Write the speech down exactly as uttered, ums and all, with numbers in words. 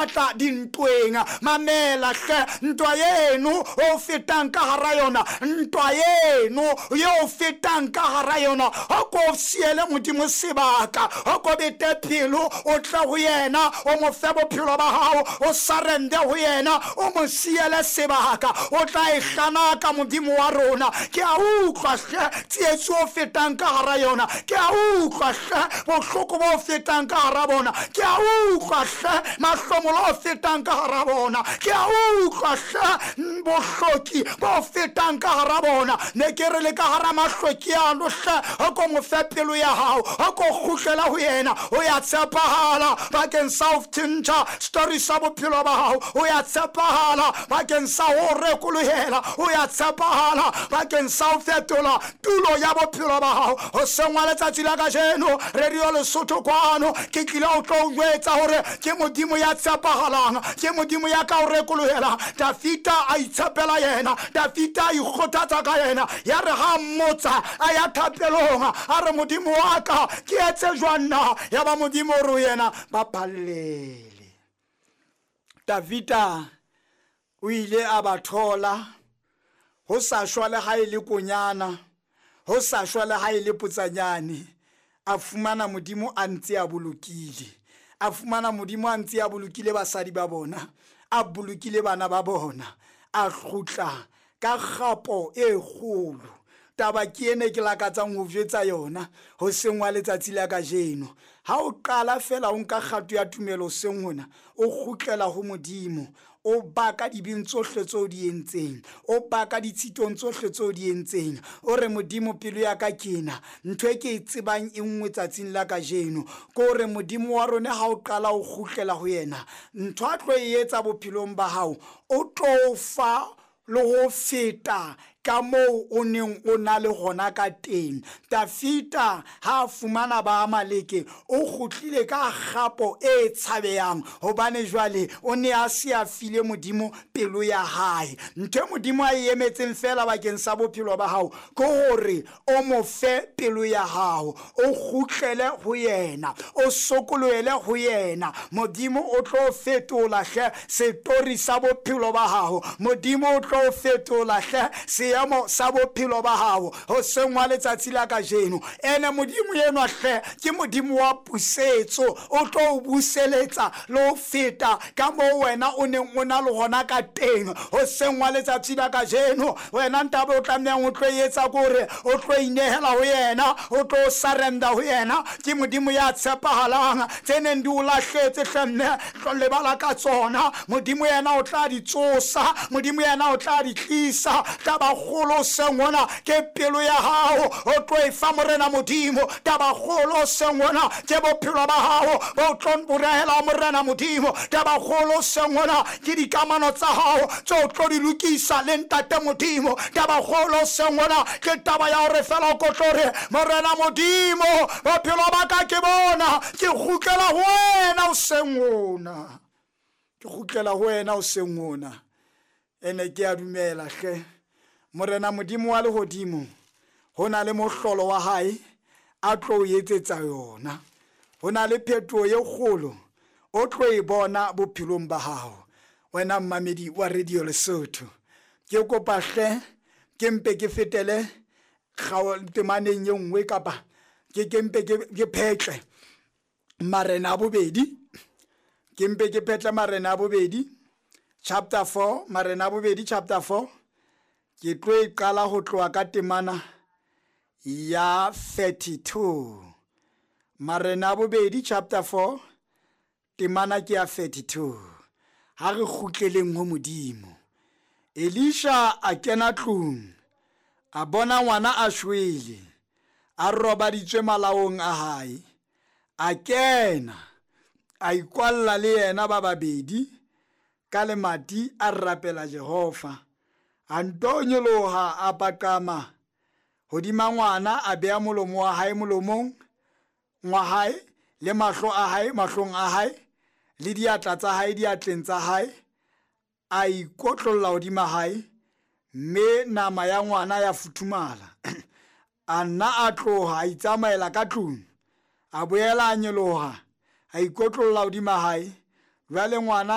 Tla dintweng mamela hle ntwa eno o fetang ka hara yona ntwa eno ye o fetang ka hara yona o ko siele Modimo sebaka o ko bete pelo o tle ho yena o mo fe bophelo ba hao o surrender ho yena o mo siele sebaka o tla e hlanaka Modimo wa rona. Ke a utlwa hle tsietsi o fetang ka hara yona, ke a utlwa hle bohloko bo fetang ka hara bona, ke a utlwa hle mahlomo o fetang ka hara bona, ke a utlwa hle bohloki bo fetang ka hara bona. Ne ke re le ka hara mahloki ano hle o ko mo fe pelo ya hao o ko kgutlela ho yena. O ya tshepahala bakeng sa ho tjhentjha story sa bophelo ba hao, o ya tshepahala bakeng sa ho rekolohela, o ya tshepahala bakeng sa ho fetola tulo ya bophelo ba hao. Ho sengwa letsatsi la kajeno Radio Lesotho kwano ke tlile ho tlo o jwetsa hore ke Modimo ya tshepahalang, ke Modimo ya ka o rekolohela. Dafita a itshepela yena, Dafita a ikgothatsa ka yena, ya re ha mmotsa a ya thapelong a re Modimo wa ka ke etse jwang na? Ya ba Modimo o re ho yena ba phallele. Dafita o ile a ba thola ho sa shwa le ha e le konyana, ho sa shwa le ha e le potsanyane, a fumana Modimo a ntse a bolokile, a fumana Modimo a ntse a bolokile basadi ba bona, a bolokile bana ba bona, a kgutla ka kgapo e kgolo. Taba ke ene ke lakatsang ho jwetsa yona ho sengwa letsatsi la kajeno. Ha o qala fela o nka kgato ya tumelo seng hona, o kgutlela ho Modimo, o baka dibeng tsohle tseo di entseng, o baka ditshitong tsohle tseo di entseng, o re Modimo pelo ya ka ke ena, ntho e ke e tsebang e nngwe tsatsing la kajeno ke hore Modimo wa rona ha o qala o kgutlela ho yena, ntho a tlo e etsa bophelong ba hao o tlo fa le ho feta ka moo o neng o na le hona ka teng. Dafita ha a fumana ba Amaleke o kgutlile ka kgapo e tshabehang, hobane jwale o ne a se a file Modimo pelo ya hae. Ntho e Modimo a e emetseng fela bakeng sa bophelo ba hao ke hore o mo fe pelo ya hao, o kgutlele ho yena, o sokolohele ho yena. Modimo o tlo fetola hle setori sa bophelo ba hao, Modimo o tlo fetola hle seemo sa bophelo ba hao ho sengwa letsatsi la kajeno. Ene Modimo enwa hle ke Modimo wa pusetso, o tlo o buseletsa le ho feta ka moo wena o neng o na le hona ka teng ho sengwa letsatsi la kajeno. Wena ntabe o tlamehang o tlo etsa ke hore o tlo inehela ho yena, o tlo surrender ho yena. Ke Modimo ya tshepahalang, tse neng di o lahletse hle mme tlo lebala ka tsona, Modimo yena o tla di tsosa, Modimo yena o tla di tlisa. Taba kgolo seng hona ke pelo ya hao o tlo e fa Morena Modimo. Taba kgolo seng hona ke bophelo ba hao bo tlo borehela Morena Modimo. Taba kgolo seng hona ke dikamano tsa hao tse o tlo di lokisa le Ntate Modimo. Taba kgolo seng hona ke taba ya hore fela o ko tlo re Morena Modimo bophelo ba ka ke bona, ke kgutlela ho wena o seng hona, ke kgutlela ho wena o seng hona. Ene ke a dumela hle Morena Modimo wa lehodimo ho na le mohlolo wa hae a tlo o etsetsa yona, ho na le phetoho e kgolo o tlo e bona bophelong ba hao. Wena mmamedi wa Radio Lesotho, ke kopa hle ke mpe ke fetele temaneng e nngwe kapa ke ke mpe ke phetle Marena a bobedi, ke mpe ke phetle Marena a bobedi chapter four, Marena a bobedi chapter four. Ke tlo e qala ho tloha ka temana ya thirty-two. Marena a bobedi chapter four temana ke ya thirty-two. Ha re kgutleleng ho Modimo. Elisha a kena tlung, a bona ngwana a shwele, a robaditswe malaong a hae. A kena, a ikwalla le yena ba babedi ka lemati, a rapela Jehova. A nto nyoloha a paqama hodima ngwana, a beha molomo wa hae molomong wa hae, le mahlo a hae mahlong a hae, le diatla tsa hae diatleng tsa hae. A ikotlolla hodima hae, mme nama ya ngwana ya futhumala. A nna a tloha a itsamaela ka tlung, a boela a nyoloha a ikotlolla hodima hae. Jwale ngwana